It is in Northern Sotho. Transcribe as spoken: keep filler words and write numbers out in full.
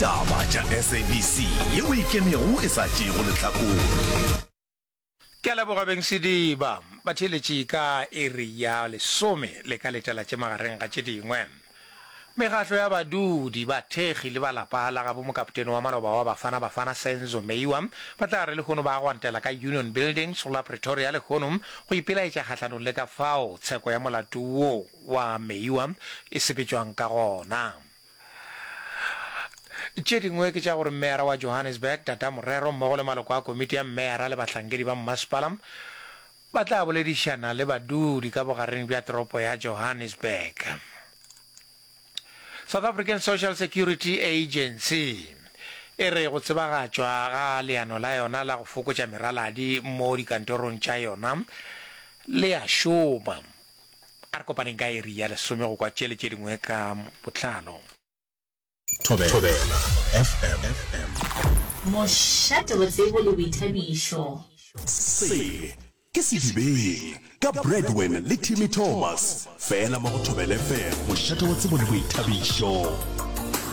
Taba tša S A B C yeo e ikemego e sa tšeego lehlakore. Ke a leboga beng sediba. Batheeletši ka iri ya lesome le ka letela tše magareng ga tše dingwe. Mekgatlo ya badudi, bathekgi le ba lapa la gabo mokapotene wa maloba wa Bafana Bafana Senzo Meyiwa ba tla re lehono ba gwantela ka Union Buildings go la Pretoria lehono go ipelaetša kgahlanong le ka fao tsheko ya molato wo wa Meyiwa e sepetšwang ka gona. Tše dingwe ke tša gore Meyara wa Johannesburg, Tata Morero, mmogo le maloko a komiti ya meyara le bahlankedi ba mmasepala ba tla boledišana le badudi ka bogareng bja toropo ya Johannesburg. South African Social Security Agency e re go tsebagatšwa ga leano la yona la go fokotša meraladi mo dikantorong tša yona le a šoma. A re kopaneng ka iri ya lesome go kwa tše le tše dingwe ka botlalo. Thobela F M. Mošate wa tsebo le boithabišo. Se ke Sedibeng ka Bradwin le Timmy Thomas, fela mo go Thobela F M, mošate wa tsebo le boithabišo.